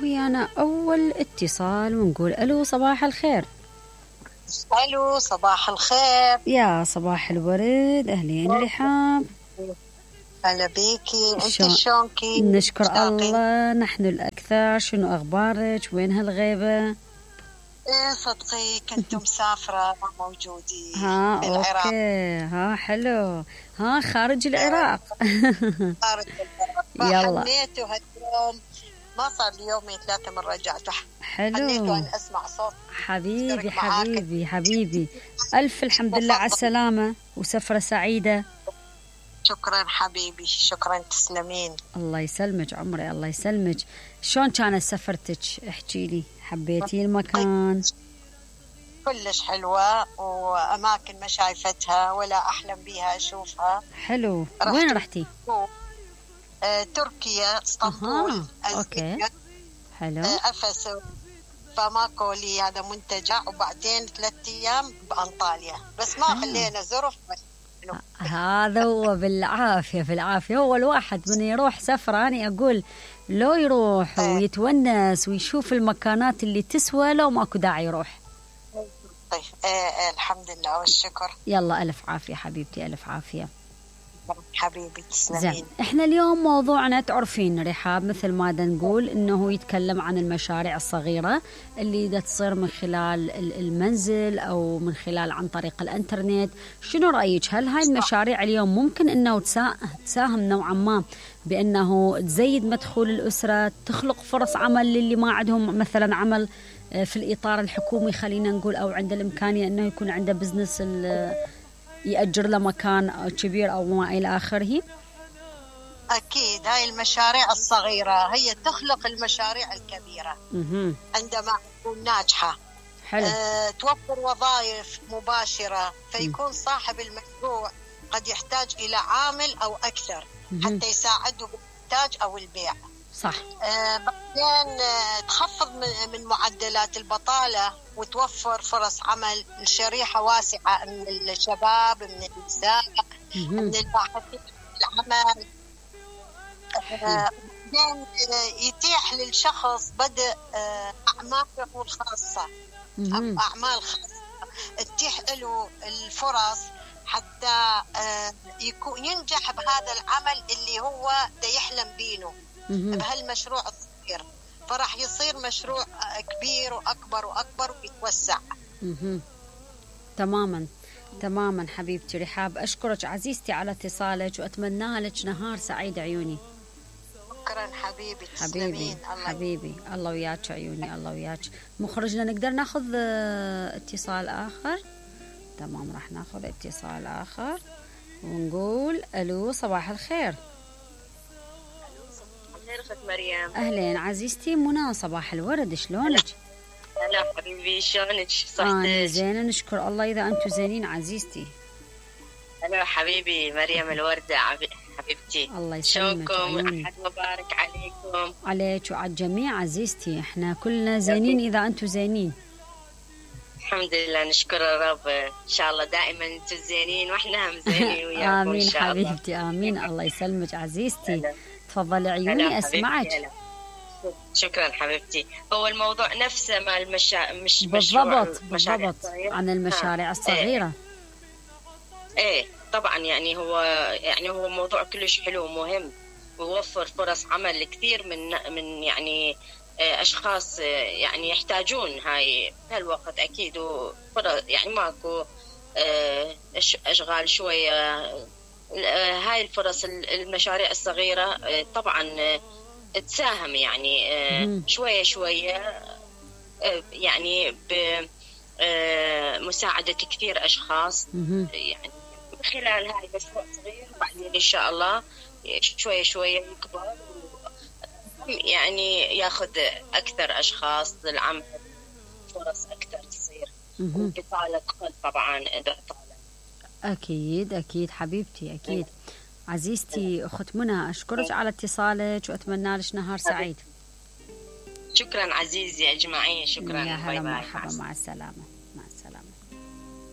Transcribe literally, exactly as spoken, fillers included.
ويانا أول اتصال ونقول ألو صباح الخير. ألو صباح الخير. يا صباح الورد، أهلين رحاب. هلا بيكي، انت شلونكي؟ نشكر الله، نحن الأكثر. شنو أخبارك؟ وين هالغيبة؟ ايه صدقي كنت مسافرة ما موجودي. ها بالعراق. اوكي، ها حلو، ها خارج العراق. خارج العراق. يلا حنيت هاليوم، ما صار لي يومين ثلاثة من رجعت. حلو. حنيت وأن أسمع صوت حبيبي حبيبي حبيبي، ألف الحمد لله على السلامة وسفرة سعيدة. شكرا حبيبي، شكرا، تسلمين. الله يسلمك عمري، الله يسلمك. شلون كانت سفرتك؟ احكي لي، حبيتي المكان؟ كلش حلوة، وأماكن ما شايفتها ولا أحلم بيها أشوفها. حلو. وين رحتي؟ آه، تركيا، اسطنبول. اوكي حلو. آه، أفس، فماكو لي هذا منتجع، وبعدين ثلاثة أيام بأنطاليا، بس ما خلينا زرف. هذا هو بالعافية بالعافية. هو الواحد من يروح سفرة أنا أقول لو يروح ويتونس ويشوف المكانات اللي تسوى، لو ماكو داعي يروح. طيب آه الحمد لله والشكر. يلا ألف عافية حبيبتي، ألف عافية حبيبي، تسلمين. زين، احنا اليوم موضوعنا تعرفين رحاب مثل ما دا نقول انه يتكلم عن المشاريع الصغيرة اللي دا تصير من خلال المنزل او من خلال عن طريق الانترنت. شنو رأيك؟ هل هاي المشاريع اليوم ممكن انه تساهم نوعا ما بانه تزيد مدخول الاسرة، تخلق فرص عمل للي ما عندهم مثلا عمل في الاطار الحكومي خلينا نقول، او عند الامكانية انه يكون عنده بزنس يأجر له مكان كبير أو ما إلى آخره؟ أكيد هاي المشاريع الصغيرة هي تخلق المشاريع الكبيرة. مه. عندما تكون ناجحة. حلو. أه، توفر وظائف مباشرة، فيكون صاحب المشروع قد يحتاج إلى عامل أو أكثر مه. حتى يساعده بالإنتاج أو البيع. صح. أه، بعدين أه، تخفض من معدلات البطالة وتوفر فرص عمل لشريحة واسعة من الشباب، من النساء، من الباحثين في العمل. بعدين يتيح للشخص بدء أعماله الخاصة، أعمال خاصة تتيح له الفرص حتى يكون ينجح بهذا العمل اللي هو دا يحلم بينه بهالمشروع الصغير، فراح يصير مشروع كبير وأكبر وأكبر ويتوسع. مه. تماما تماما حبيبتي رحاب، أشكرك عزيزتي على اتصالك وأتمنى لك نهار سعيد عيوني. شكرا حبيبي، حبيبي حبيبي، الله وياك عيوني، الله وياك. مخرجنا نقدر ناخذ اتصال آخر؟ تمام، راح ناخذ اتصال آخر ونقول ألو صباح الخير. خير مريم. أهلين عزيزتي منى، صباح الورد، شلونك؟ هلا حبيبي، شلونك؟ صحتك؟ أنا زينة نشكر الله، إذا أنتم زينين عزيزتي. هلا حبيبي مريم الوردة حبيبتي، الله يسلمك. شلونكم؟ أحد مبارك عليكم. عليك وعلى الجميع عزيزتي، إحنا كلنا زينين إذا أنتم زينين. الحمد لله، نشكر الرب، إن شاء الله دائما أنتم زينين وإحنا هم زينين وياكم. آمين إن شاء الله. حبيبتي، آمين. الله يسلمك عزيزتي. تفضلي عيوني أسمعك. شكرا حبيبتي. هو الموضوع نفسه مع المشا... مش بالضبط بالضبط عن المشاريع الصغيرة. ايه. ايه طبعا، يعني هو يعني هو موضوع كلش حلو ومهم، ويوفر فرص عمل كثير من من يعني اشخاص يعني يحتاجون هاي هالوقت اكيد، وفرص يعني ماكو اشغال شوية. هاي الفرص المشاريع الصغيرة طبعا تساهم يعني شوية شوية يعني بمساعدة كثير أشخاص يعني من خلال هاي مشروع صغير، وبعدين إن شاء الله شوية شوية يكبر يعني ياخذ أكثر أشخاص للعمل، فرص أكثر تصير، وبطالة تقل طبعا إذا طالت. أكيد أكيد حبيبتي، أكيد. عزيزتي أخت منى، أشكرك على اتصالك وأتمنى لك نهار سعيد. شكرا عزيزي أجمعين، شكرا. يا هلا، مرحبا، مع السلامة.